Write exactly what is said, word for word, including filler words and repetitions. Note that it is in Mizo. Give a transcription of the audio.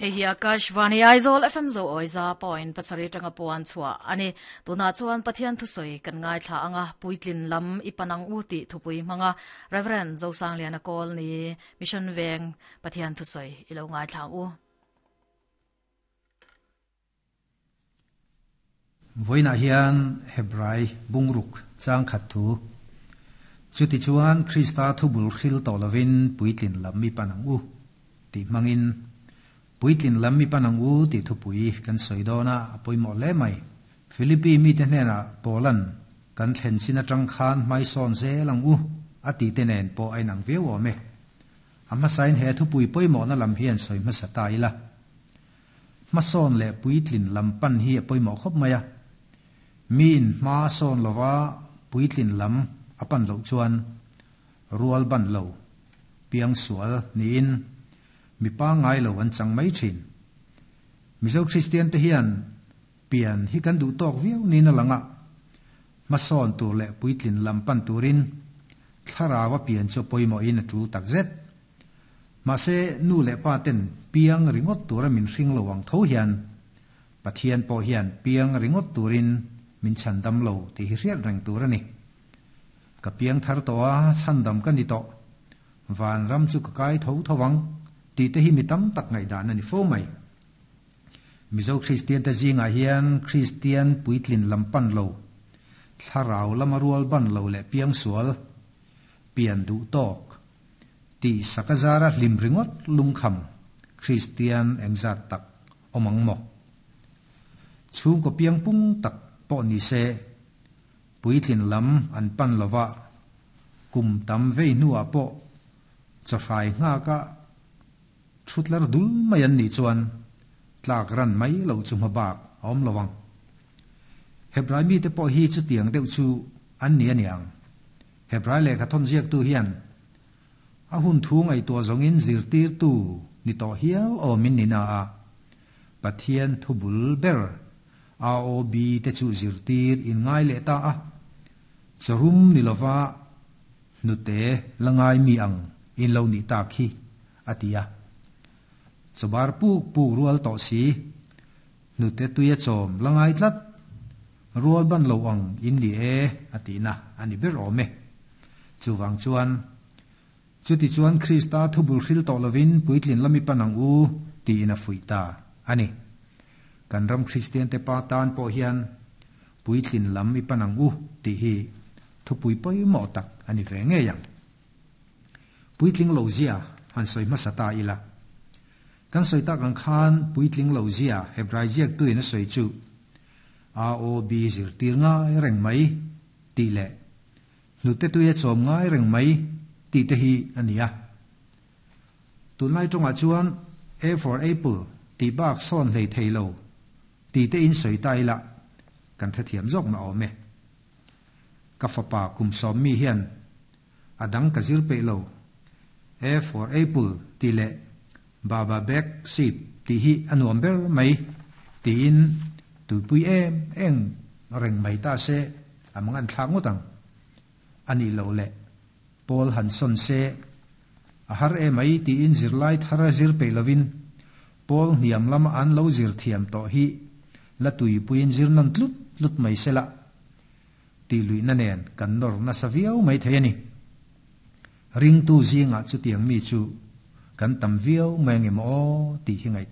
Hei hi Akashvani Aizawl F M zo oiza point pasari tanga puan chua ani tuna chuan Pathian thusoi kan ngai thla anga puitlin lam ipanang u ti thupui manga Reverend Zosang Liana Kawl ni Mission Veng Pathian thusoi ilo ngai thla u. Voina hian Hebrai bungruk chang khat thu chuti chuan Krista thubul hril tolovin puitlin lam mi panang u ti mangin puitlin lam mi panang u ti thupui kan soidona apoimo le mai Philippi mi te hnena Poland kan thlen sina tang khan mai son zelang u ati tenen po ainang veu ome amma sain he thupui poimo na lam hian soi ma sata ila ma son le puitlin lam pan hi apoimo khop maya min ma son lova puitlin lam apan lo chuan rual ban lo piang sual niin mi pa ngai lo an chang mai thin mizo Christian te hian pian hi kan du tok viau ni na langa ma son tur le puitlin lam pan turin thlarawa pian cho poimo in a tul tak zet ma se nu le pa ten piang ringot tura min hring lo wang tho hian Pathian po hian piang ringot turin min chandam lo ti hi riat reng tur ani ka piang thar to a chandam kan ni to van ram chu ka kai tho thowang ti te hi mi tam tak ngai dan ani fo mai mizo Christian te zinga hian Christian puitlin lampan lo thlarau lamarual ban lo le piang sual pian du tok ti sakazara hlim ringot lungkham Christian engzat tak omang mo chung ko piang pung tak po ni se puitlin lam an pan lova kum tam vei nuwa po chafai nga ka thutlar dul mai an ni chuan tlak ran mai lo chu ma bak awm lowang Hebrai mi te po hi chu tiang deuh chu an ni aniang Hebrai le kha thon ziak tu hian a hun thu ngai tua zongin zir tir tu ni to hial o min ni na a Pathian thubul ber A O B te chu zir tir in ngai le ta a charum ni lova nu te langai mi ang in lo ni ta khi atia chabar pu pu rual to si nu te tuya chom langai tlat rual ban lo ang in li e atina ani ber ome chuwang chuan chuti chuan Krista thubul hril to lovin puitlin lami panang u ti ina fuita ani kan ram Christian te pa tan po hian puitlin lam i panang u ti hi thupui poi mo tak ani ve nge yang puitling lo zia han soi ma sata ila kan soi tak ang khan puitling lo zia Hebrai ziak tu ina soi chu A O B zir tir ngai reng mai ti le nu te tu ye chom ngai reng mai ti te hi ania tunlai tonga chuan A for apple ti bak son hlei theilo ti te in soi tai la kan tha thiam jok ma ome ka fa pa kum som mi hian adang ka zir pe lo A for apple ti le baba bek sip ti hi anuam ber mai ti in tu pui em eng reng mai ta se amang an thla ngotang ani lo le Paul Hanson se a har e mai ti in zir lai thara zir pe lovin Paul niam lam an lo zir thiam to hi la tui puin zir nan tlut tlut mai sela ti lui na nen kan nor na saviau mai thei ani ring tu zinga chu tiang mi chu kan tam viau mai nge mo ti hi ngai